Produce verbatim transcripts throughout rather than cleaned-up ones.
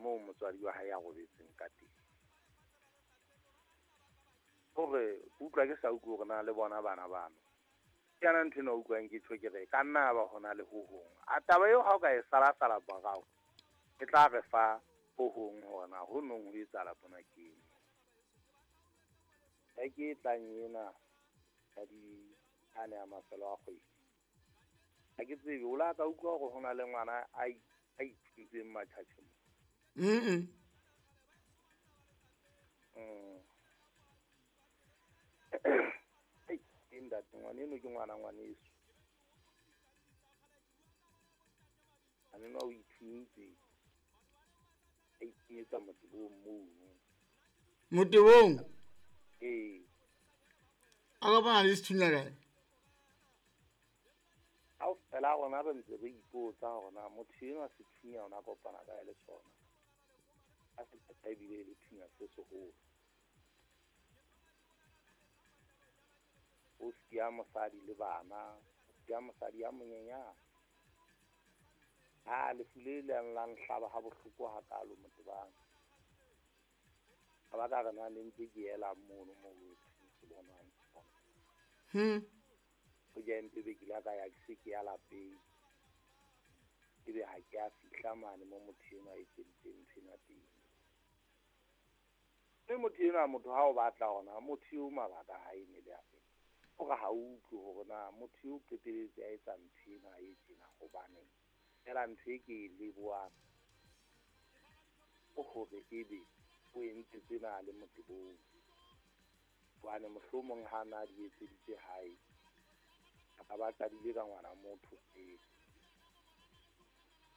moo motswadi wa hae a robetseng ka teng. Hore utlwa ke sa utlwe hore na le bona bana bano. Ke yana ntho ena utlwang ke tjho ke re ka nna ba hona le ho hong. A taba eo ha o ka e sala sala morao, e tla re fa ho hong hore na ho nong ho etsahala mona ke eng. E ke tlang ena ya di ane a mafelo a kgwedi. Ha ke tsebe o la ka utlwa hore hona le ngwana a a ithutseng matjhatjhe mo. Mm. Mm. Ei, ntate ngwana eno ke ngwana ngwaneso. Ane no o ithuntse. A ithunyetsa motebong mono. Motebong? Ee. A kopana le sethunya kae? Kaofela rona re ntse re ipotsa hore na motho enwa sethunya ona kopana kae le sona. A se qeta ebile e le thunya se seholo. O siya mosadi le bana, o siya mosadi ya monyenyane. Ha lefu le leng la nhlaba ha bohloko hakalo motebang. Ka baka re na le ntse ke ela mono moo se bonwang. Hmm. Ho ja mpe be ke la ka ya ke se ke ya lapeng. Ebe ha ke a fihla mane mo motho enwa a etseditseng ntho ena teng. Mme motho enwa motho ha o batla hona motho eo mabaka a hae ne le a fe. Hore ha o utlwe hore na motho eo qetelletse a etsa ntho ena e tjena hobaneng. Fela ntho e ke e lebohang ke hore ebe o entse tsena le motebong. Hobane mohlomong ha na di etseditse hae, a ka ba qadile ka ngwana motho pele.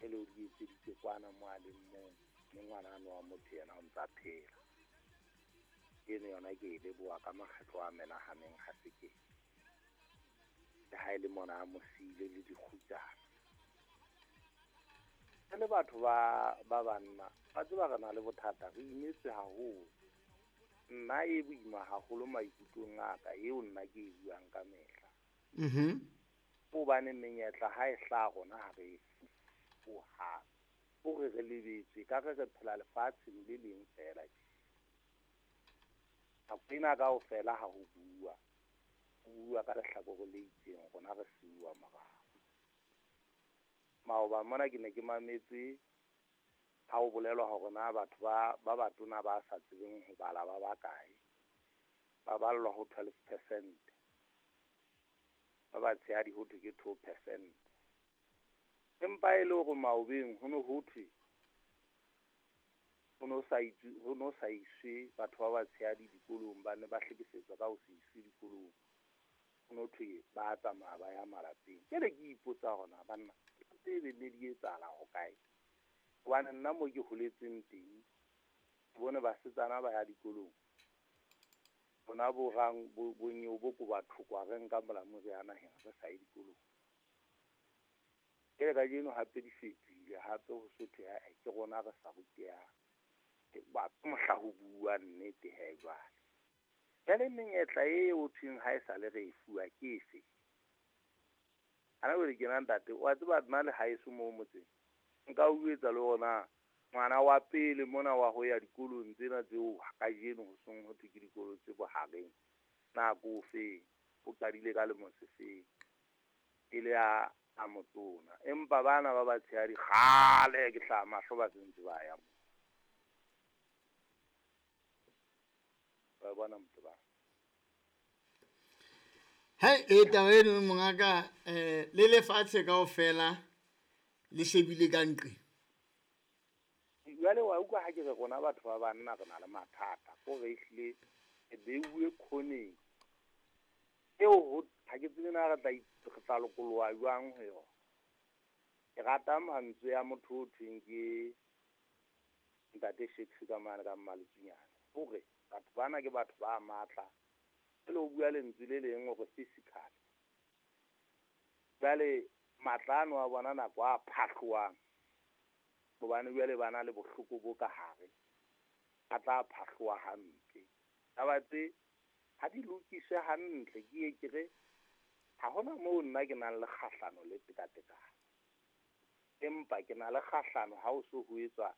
E le o di etseditse kwana mo a leng mong, mme ngwana ano wa motho yena o ntsa phela. Eno yona ke e leboha ka makgetlo a menahaneng ha se ke. Le ha e le mona a mo siile le dikgutsana. Re le batho ba ba banna, ba tseba re na le bothata, re imetswe haholo. Nna e boima haholo maikutlong a ka, eo nna ke e buang ka mehla. Mhm. Hobane menyetla ha e hlaha rona ha re e hohang. Hore re lebetswe ka re re phela lefatsheng le leng feela. Nako ena kaofela ha ho bua, ho bua ka lehlakore le itseng, rona re siuwa morao. Maoba mona ke ne ke mametse ha ho bolelwa hore na batho ba ba batona ba sa tsebeng ho bala ba bakae, ba ballwa ho twelve percent. Ba batshehadi ho thwe ke two percent. Empa e le hore maobeng ho no ho thwe ho no sa itswe, ho no sa iswe batho ba batshehadi dikolong, ba ne ba hlekefetswa ka ho se iswe dikolong. Ho no thwe ba tsamaya ba ya malapeng. Jwale ke ipotsa hore na banna tsebe ne di etsahala ho kae. Hobane nna mo ke holetseng teng, ke bone basetsana ba ya dikolong. Bona bo rang bo bonyeo bo ko batho kwa re nka molamu re ya naheng re sa ye dikolong. Ke le kajeno hape di fetohile hape ho so thwe ae ke rona re sa rutehang. Ke ba mohla ho bua nnete he jwale. Jwale menyetla e ho thweng ha e sa le re e fuwa ke efe? Ana jwale ke na ntate, wa tseba nna le haeso moo motseng. Nka o jwetsa le hore ngwana wa pele mona wa ho ya dikolong tsena tseo kajeno ho seng ho thwe ke dikolo tse bohareng. Na ko feng? O qadile ka lemo se feng? E le a a motona. Empa bana ba batshehadi kgale ke hlaha mahlo ba sentse ba ya moo. Wa bona motho ba. Hei, e taba eno mongaka, eh le lefatshe kaofela le shebile ka nqe. Jwale wa utlwa ha ke re rona batho ba banna re na le mathata, ko re ehlile re beuwe khoneng. Eo ho ha ke tsebe na re tla re tla lokoloha jwang ho yona. Ke rata mantswe a motho o thweng ke Ntate Shakespeare ka mane ka Mmaletsunyane. Hore batho bana ke batho ba matla. Jwale o bua lentswe le leng hore physical. Jwale matla ano a bona nako a phahlohang. Hobane jwale ba na le bohloko bo ka hare. A tla phahloha hampe. Taba tse ha di lokiswe hantle ke ye ke re ha hona moo nna ke nang le kgahlano le tekatekano. Empa ke na le kgahlano ha ho so ho etswa